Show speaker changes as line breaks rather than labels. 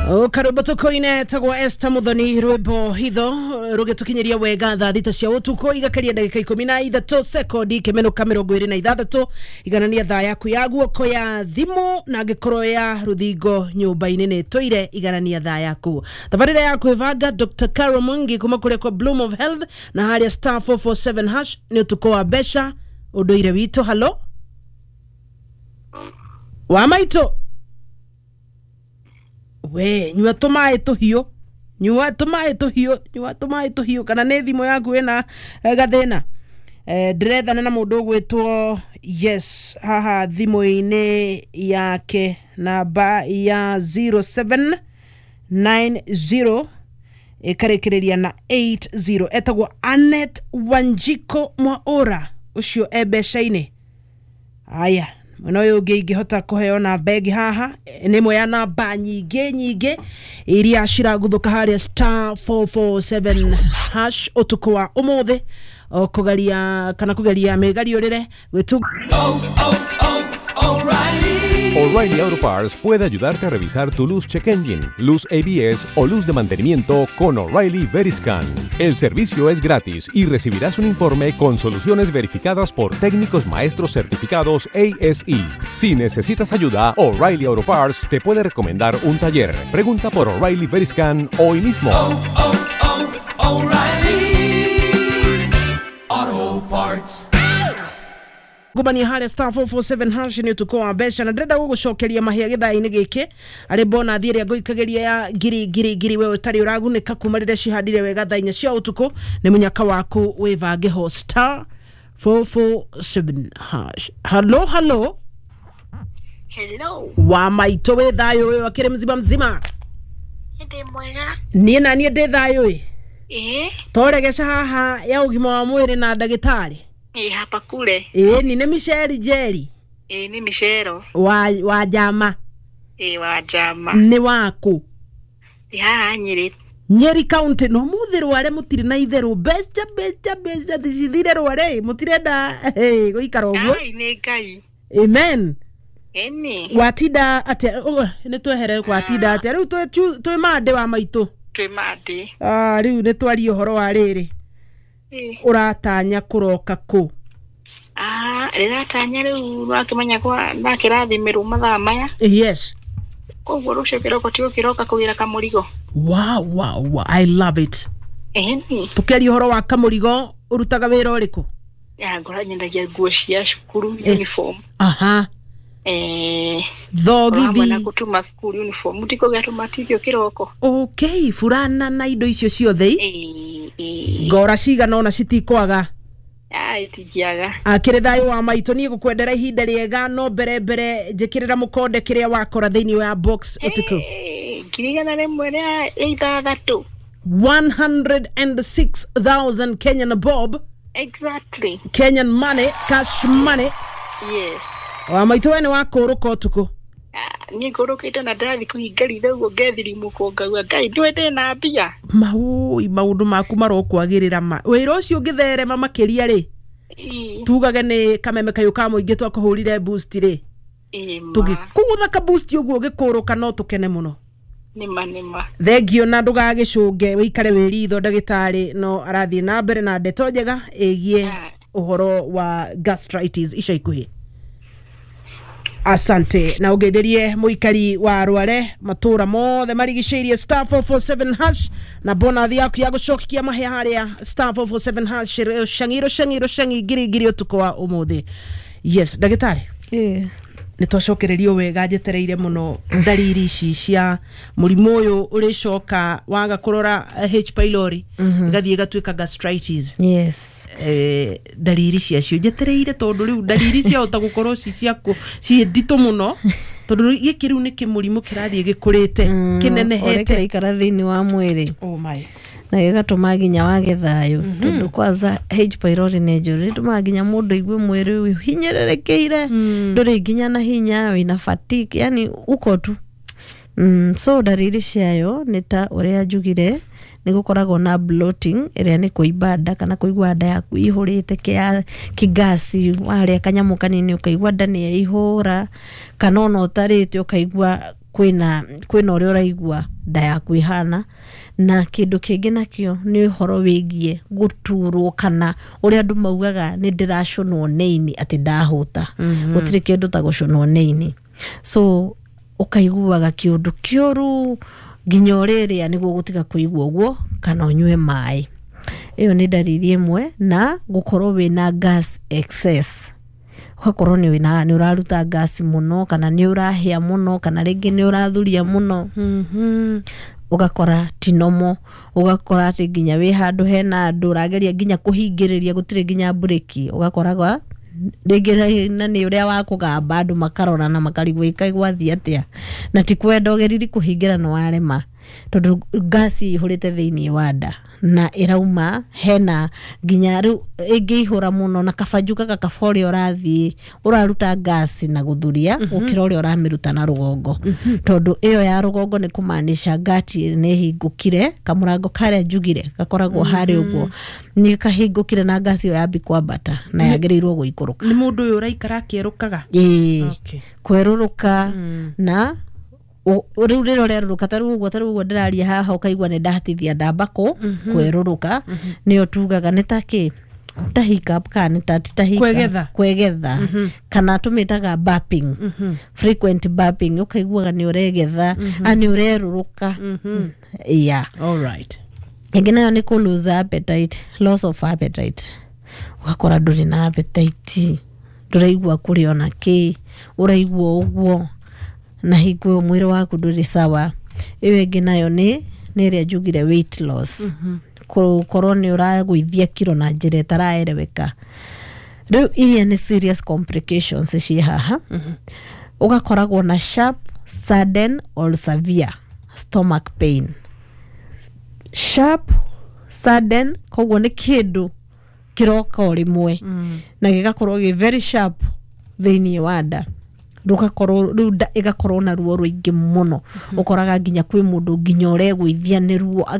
Karwĩmbo tũkoine tagwo Esther Muthoni, rwĩmbo hitho rũgĩtũkinyĩria wega thaa 6 cia ũtukũ igakeria ndagĩka 13 sekondi ikĩmenũka 26. Iganania thaa yaku ya guoko ya thimũ na angĩkorwo ya rũthingo nyũmba-inĩ nĩ tũire, iganania thaa yaku. Tabarĩra ya kwĩbanga Dr. Carol Mwangi kuma kũrĩa kwa Bloom of Health na harĩa star 447 hash nĩ ũtukũ wa mbeca ũndũire witũ. Halo wa maitũ, we nyua tũmaĩ tũhiũ, nyua tũmaĩ tũhiũ, nyua tũmaĩ tũhiũ, kana nĩ thimũ yaku ĩna gathĩna. Ndĩrethana na mũndũ ũgwĩtwo yes haha thimũ-inĩ yake namba ya 0790 ĩkarĩkĩrĩria na 80, etagwo Anet Wanjiko Mwaũra, ũcio e mbeca-inĩ. Aya, mwena ũyũ ũngĩ ingĩhota kũheo namba ĩngĩ haha nĩ ĩmwe ya namba nyingĩ nyingĩ iria ciraguthũka harĩa star 447 hash ũtukũ wa ũmũthĩ, o kũgeria kana kũgeria mĩgariũrĩre gwĩtu.
O'Reilly Auto Parts puede ayudarte a revisar tu luz check engine, luz ABS o luz de mantenimiento con O'Reilly Veriscan. El servicio es gratis y recibirás un informe con soluciones verificadas por técnicos maestros certificados ASE. Si necesitas ayuda, O'Reilly Auto Parts te puede recomendar un taller. Pregunta por O'Reilly Veriscan hoy mismo.
O'Reilly Auto Parts.
Ngumania harĩa star 447 hash nĩ ũtukũ wa mbeca, na ndĩrenda gũgũcokeria mahĩa gĩthaa-inĩ gĩkĩ arĩ bonathi ĩrĩa ngũikagĩria ya ngiri ngiri ngiri, we ũtarĩ ũragunĩka kuma rĩrĩa cihandire wega thaa 4 cia ũtukũ. Nĩ mũnyaka waku wĩbange ho star 447 hash. Halo halo.
Hello.
Wa maitũ, wĩ thayũ? Ũyũ akĩrĩ mzima mzima?
Ndĩ mwega.
Niĩ na niĩ ndĩ thayũ ĩ.
Ĩĩ.
Toregeca haha ya ũgima wa mwĩrĩ na ndagĩtarĩ.
Ĩĩ, hapa kule.
Ĩĩ, ni nĩ Michelle Njeri.
Ĩĩ, nĩ Michelle.
Wa njama.
Ĩĩ, wa njama.
Nĩ waku?
Ĩ haha Nyĩrĩ.
Nyeri County. No mũthĩ rware mũtirĩ na itherũ, mbeca mbeca mbeca cithire rware, mũtirenda gũikara ũguo.
Ai, nĩ Ngai.
Amen.
Ĩni.
Watinda atĩa? Nĩ twehere watinda atĩa rĩu twĩ mande wa maitũ?
Twĩ mande.
Ah, rĩu nĩ twarie ũhoro wa rĩrĩ. Ũratanya kũroka kũ?
Ah, ndĩratanya rĩu wakĩmenya kwa ndakĩrathimĩrwo mathaa maya.
Yes.
Koguo rũciũ kĩroko tigũkĩroka kũgĩra kamũrigo.
Wow, wow, wow. I love it.
Ĩni.
Tũkĩaria ũhoro wa kamũrigo, ũrutaga wĩra ũrĩkũ?
Ya, ngora nyendagia nguo cia cukuru, uniform.
Aha. Thogithi.
Na gũtuma school uniform, mũtikũgĩa tũmatithio kĩroko.
Okay, burana na indo icio ciothe. Ngora cigana ona citikwaga.
Ai, itingĩaga.
Akĩrĩ thayũ wa maitũ, niĩ gũkwendera ihinda rĩega, no mbere mbere njĩkĩrĩra mũkonde kĩrĩa wakora thĩinĩ wa box ũtukũ.
106,000.
106,000 Kenyan bob.
Exactly.
Kenyan money, cash money.
Yes.
Wa maitũ, we nĩ wakũrũka ũtukũ?
Niĩ ngũrũkĩte na ndathi kũhinga ritho ũguo ngethirimũkwo ngauga Ngai ndũĩ ndĩna mbia.
Maũi, maũndũ maku marokwagĩrĩra ma wĩra ũcio ũngĩtherema makĩria rĩ, tugage nĩ kameme kayũ ka mũingĩ twakũhũrire boost rĩ, tũgĩkũgũtha ka boost ũguo ũgĩkũrũka, no tũkene mũno.
Nĩma nĩma.
Thengio, na ndũgagĩcũnge, wĩikare wĩ ritho, ndagĩtarĩ no arathiĩ na mbere na ndeto njega ĩgiĩ ũhoro wa gastritis ica ikuhĩ. Asante, na ũgeithĩrie mũikari wa Rware matũra mothe marigicĩirie star 447 hash na bonathi yaku ya gũcokia mahĩa harĩa star 447 hash, rũcang'i rũcang'i rũcang'i ngiri ngiri ũtukũ wa ũmũthĩ. Yes, ndagĩtarĩ.
Yes.
Nĩ twacokererio wega, njetereire mũno ndariri ici cia mũrimũ ũyũ ũrĩcoka waga kũrora H pylori ĩgathiĩ ĩgatuĩka gastritis.
Yes.
Ndariri ciacio njetereire, tondũ rĩu ndariri ciahota gũkorwo ci ciaku ciĩ nditũ mũno, tondũ gĩkĩ rĩu nĩ kĩmũrimũ kĩrathiĩ gĩkũrĩte kĩnenehete.
Ũrĩa kĩraikara thĩinĩ wa mwĩrĩ.
Oh my.
Na gĩgatũma nginya wage thayũ, tondũ kwanza H pylori nĩ njũru, ĩtũmaga nginya mũndũ aigue mwĩrĩ ũhinyĩrĩrĩkĩire, ndũrĩ nginya na hinya, wĩna fatigue, yani uko tu. So ndariri ciayo nĩ ta ũrĩa njugire, nĩ gũkoragwo na bloating ĩrĩa nĩ kũimba nda kana kũigua nda yaku ihũrĩte kĩgasi, warĩa kanyamũ kanini ũkaigua nda nĩ yaihũra, kana ona ũtarĩte ũkaigua Kwĩna ũrĩa ũraigua nda yaku ihana. Na kĩndũ kĩngĩ nakĩo nĩ ũhoro wĩgiĩ gũturwo, kana ũrĩa andũ maugaga nĩ ndĩracũnwo nĩ ini atĩ ndahũta. Gũtirĩ kĩndũ ta gũcũnwo nĩ ini. So ũkaiguaga kĩũndũ kĩũru nginya ũrĩrĩa nĩguo gũtiga kũigua ũguo, kana ũnyue maĩ. Ĩyo nĩ ndariri ĩmwe. Na gũkorwo wĩna gas excess, ũgakorwo nĩ wĩna nĩ ũraruta gas mũno, kana nĩ ũrahĩa mũno, kana rĩngĩ nĩ ũrathuria mũno. Ũgakora ti normal, ũgakora atĩ nginya wĩ handũ hena andũ ũrageria nginya kũhingĩrĩria, gũtirĩ nginya mburĩki, ũgakoraga rĩngĩ na nĩ ũrĩa wa kũgamba, andũ makarora na makarigwo ĩkaĩ gwathiĩ atĩa, na ti kwenda ũgeriri kũhingĩra no warema, tondũ ngasi ĩihũrĩte thĩinĩ wa nda na ĩrauma hena nginya rĩu ĩngĩihũra mũno na kabanju gaka kaba ũrĩa ũrathiĩ ũraruta ngasi na gũthuria gũkĩra ũrĩa ũramĩruta na rũgongo, tondũ ĩyo ya rũgongo nĩ kũmaanisha ngati nĩ ĩhingũkire, kamũrango karĩa njugire gakoragwo harĩa ũguo nĩ kahingũkire, na ngasi ĩyo yambi kwambata na yagĩrĩirwo gũikũrũka.
Nĩ mũndũ ũyũ ũraikara akĩerũkaga.
Ĩĩ.
Okay.
Kwerũrũka na rĩu rĩrĩa ũrerũrũka, ta rĩu ũguo ndĩraria haha, ũkaigua nĩ ndahatithia ndamba kwerũrũka, nĩyo tugaga nĩ ta kĩ, ta hiccup, kana nĩ ta ti ta hiccup.
Kwegetha.
Kwegetha, kana tũmĩtaga burping, frequent burping, ũkaiguaga nĩ ũregetha a nĩ ũrerũrũka, yeah.
All right.
Ĩngĩ nayo nĩ kũ lose appetite, loss of appetite, ũgakora ndũrĩ na appetite, ndũraigua kũrĩa ona kĩ, ũraigua ũguo na hingo ĩyo mwĩrĩ waku ndũrĩ sawa. Ĩyo ĩngĩ nayo nĩ ĩrĩa njugire, weight loss, gũkorwo nĩ ũragũithia kiro na njĩra ĩtaraereweka. Rĩu iria nĩ serious complications ciĩ haha, ũgakoragwo na sharp, sudden or severe stomach pain. Sharp, sudden, koguo nĩ kĩndũ kĩroka o rĩmwe na gĩgakorwo gĩ very sharp thĩinĩ wa nda, rũgakorwo rĩu nda ĩgakorwo na ruo rũingĩ mũno. Ũkoraga nginya kwĩ mũndũ nginya ũregũithia nĩ ruo agara.